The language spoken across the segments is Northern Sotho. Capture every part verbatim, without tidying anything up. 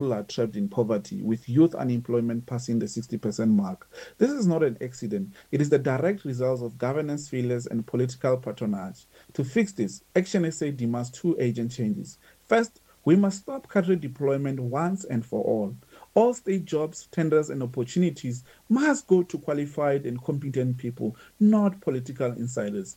are trapped in poverty, with youth unemployment passing the sixty percent mark. This is not an accident. It is the direct result of governance failures and political patronage. To fix this, Action S A demands two urgent changes. First, we must stop cadre deployment once and for all. All state jobs, tenders, and opportunities must go to qualified and competent people, not political insiders.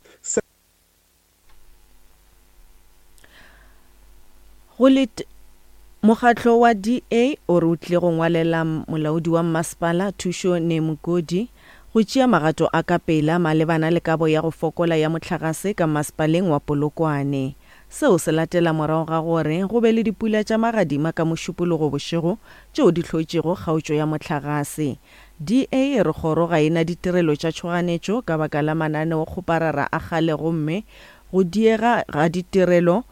Mokgatlo wa D A o re o tlile go ngwalela molaodi wa mmasepala Thušo Nemukodi go tšea magato a ka pela malebana le kabo ya go fokola ya mohlagase ka mmasepaleng wa Polokwane. Seo se latela morago ga gore go be le dipula tša magadima ka Mošupologo bošego tšeo di hlotšego kgaotšo ya mohlagase. D A e re kgoro ga e na ditirelo tša tšhoganetšo ka baka la mananeokgoparara a kgale gomme go diega ga ditirelo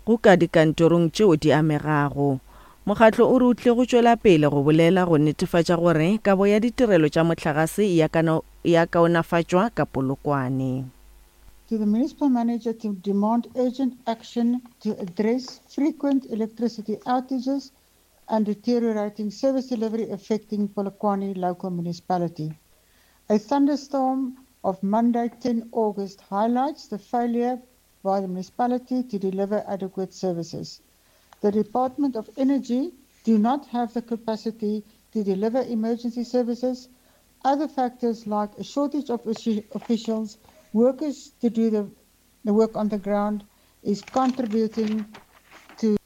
go ka dikantorong tšeo di amegago. Mokgatlo o re o tlile go tšwela pele go bolela go netefatša gore kabo ya ditirelo tša mohlagase ya kaonafatšwa ka Polokwane. To the municipal manager to demand urgent action to address frequent electricity outages and deteriorating service delivery affecting Polokwane local municipality. A thunderstorm of Monday tenth August highlights the failure by the municipality to deliver adequate services. The Department of Energy do not have the capacity to deliver emergency services. Other factors like a shortage of officials, workers to do the, the work on the ground is contributing to.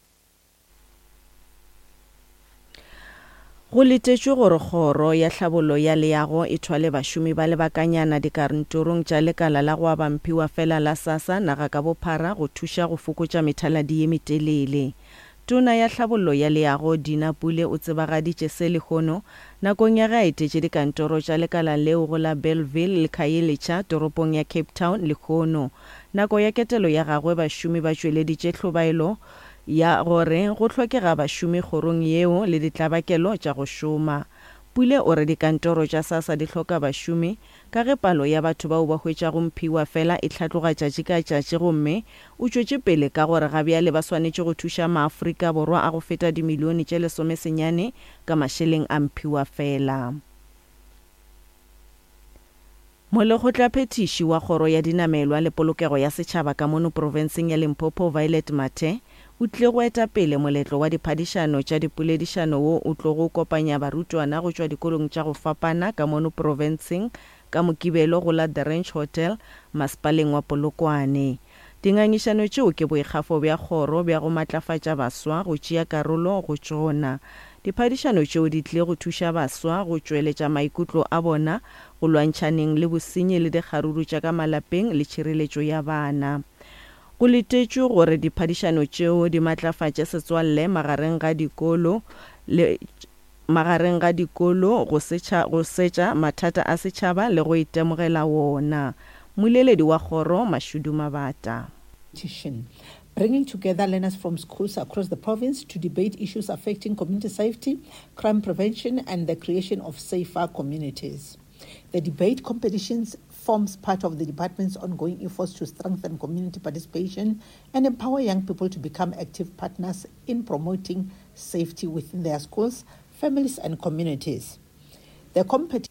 Go letetšwe gore kgoro ya tlhabollo ya leago e thwale bašomi ba lebakanyana dikantorong tša lekala la go aba mphiwa fela la SASSA naga ka bophara go thuša go fokotša methaladi ye metelele. Tona ya tlhabollo ya leago Dina Pule o tsebagaditše se lehono nakong ya ge a etetše dikantoro tša lekala leo go la Bellville le Khayelitsha toropong ya Cape Town lehono. Nako ya ketelo ya gagwe bašomi ba tšweleditše hlobaelo ya gore go hlokega bašomi kgorong yeo le ditlabakelo tša go šoma. Pule o re dikantoro tša SASSA di hloka bašomi ka ge palo ya batho bao ba hwetšago mphiwa fela e hlatloga tšatši ka tšatši gomme o tšwetše pele ka gore ga bjale ba swanetše go thuša maAfrika Borwa a go feta dimilione tše lesomesenyane ka mašeleng a mphiwa fela. Molekgotlaphethiši wa kgoro ya dinamelwa le polokego ya setšhaba ka mono profenseng ya Limpopo Violet Mathe o tlile go eta pele moletlo wa diphadišano tša dipoledišano wo o tlogo kopanya barutwana go tšwa dikolong tša go fapana ka mono profenseng ka Mokibelo go la The Ranch Hotel masepaleng wa Polokwane. Dingangišano tšeo ke boikgafo bja kgoro bja go matlafatša baswa go tšea karolo go tšona. Diphadišano tšeo di tlile go thuša baswa go tšweletša maikutlo a bona go lwantšhaneng le bosenyi le dikgaruru tša ka malapeng le tšhireletšo ya bana. Go letetšwe gore diphadišano tšeo di matlafatše setswalle magareng ga dikolo le magareng ga dikolo go setša go setša mathata a setšhaba le go itemogela wona. Moleledi wa kgoro Mashudu Mabata. Bringing together learners from schools across the province to debate issues affecting community safety, crime prevention, and the creation of safer communities. The debate competitions forms part of the department's ongoing efforts to strengthen community participation and empower young people to become active partners in promoting safety within their schools, families, and communities. The competition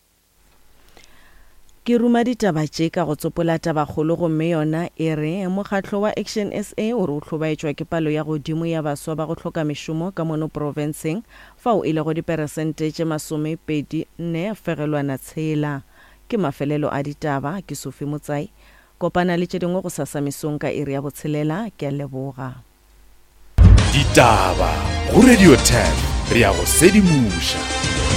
Ke ruma ditaba tše ka go tsopola tabakgolo gomme yona e re mokgatlo wa Action S A o re o hlobaetšwa ke palo ya godimo ya baswa ba go hloka mešomo ka mono profenseng fao e lego diperesente tše masomepedi nne fegelwana tshela. Ke mafelelo a ditaba ke Sophie Motsai. Kopana le tše dingwe go sasa mesong ka iri ya botshelela. Ke a leboga. Ditaba go Radio ten re ya go sedimoša.